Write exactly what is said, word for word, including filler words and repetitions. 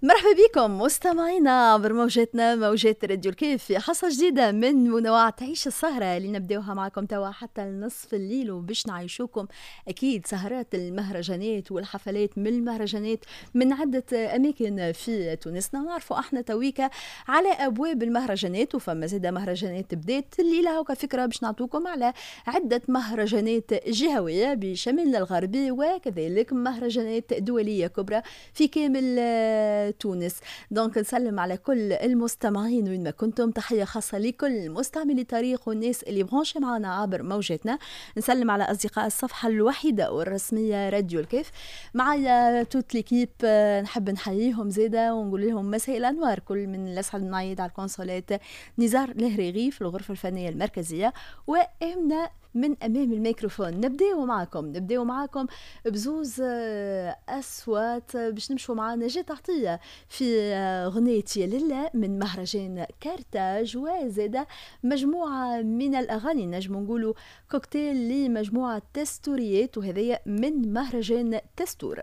مرحبا بكم مستمعينا عبر موجاتنا، موجات راديو الكيف، في حصة جديدة من منوعات عيش السهرة اللي نبداوها معكم توا حتى النصف الليل، وباش نعيشوكم أكيد سهرات المهرجانات والحفلات من المهرجانات من عدة أماكن في تونسنا. نعرفوا احنا تويكا على أبواب المهرجانات، وفما زادة مهرجانات بدات الليلة، هوكا فكرة باش نعطوكم على عدة مهرجانات جهوية بشمالنا الغربي وكذلك مهرجانات دولية كبرى في كامل تونس. donc نسلم على كل المستمعين وين ما كنتم، تحية خاصة لكل مستعملي الطريق والناس اللي branchés معنا عبر موجاتنا. نسلم على أصدقاء الصفحة الوحيدة والرسمية راديو الكيف، معايا toute l'équipe نحب نحييهم زادة ونقول لهم مساء الأنوار. كل من الأسعد النايد على الكونسولات، نزار الهريغي في الغرفة الفنية المركزية، وإمنا من امام الميكروفون. نبداو معكم نبداو معكم بزوز آه، اصوات باش نمشوا مع نجاة عطية في آه، غنية يا للا من مهرجان كارتاج، وزاد مجموعة من الاغاني، نجم نقولوا كوكتيل لمجموعة تستوريات، وهذايا من مهرجان تستور.